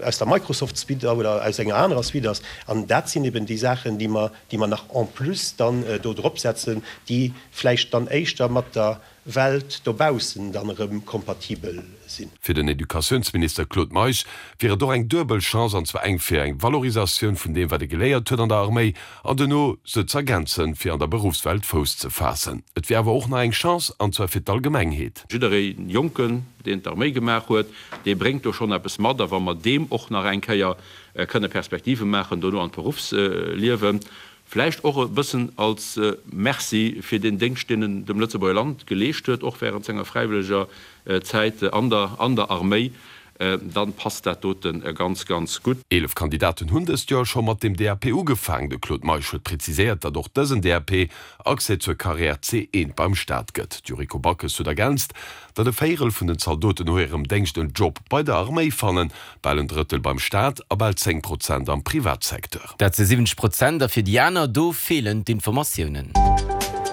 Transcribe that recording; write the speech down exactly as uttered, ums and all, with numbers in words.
aus der Microsoft-Suite oder aus enger anerer Suite ass. An dat sinn eben déi Saachen, déi mer, déi mer nach en plus dann do dropsetzen, déi vläicht dann éischter mat der Welt dobaussen dann erëm kompatibel sinn. Fir den Educatiounsminister Claude Meisch wier et och eng duebel Chance, an zwar eng fir eng Valorisatioun vun deem, wat ee geléiert huet an der Arméi, an duerno se z'ergänzen, fir an der Beruffswelt Fouss ze faassen. Et wier awer och nach eng Chance, an zwar fir d'Allgemengheet. Jidderee Jonken, deen d'Arméi gemaach huet, dee bréngt do schonn eppes mat. A wa mer deem och nach eng Kéier kënne Perspektive maachen dono an d'Beruffsliewen, vläicht och e bëssen als Merci fir deen Déngscht, deen en dem Lëtzebuerger Land geleescht huet, och während senger fräiwëlleger Zäit an der an der Arméi, dann passt dat dote ganz, ganz gutt. Eelef Kandidaten hunn dëst Joer scho mat dem D A P ugefaangen. De Claude Meisch huet präziséiert, datt och dësen D A P Accès zur Carrière C eent beim Staat gëtt. D'Yuriko Backes huet ergänzt, datt e Véierel vun den Zaldoten no hirem Déngscht en Job bei der Arméi fannen, bal en Drëttel beim Staat a bal zéng Prozent am Privatsecteur. Dat si siwwenzeg Prozent a fir déi aner, do feelen d'Informatiounen.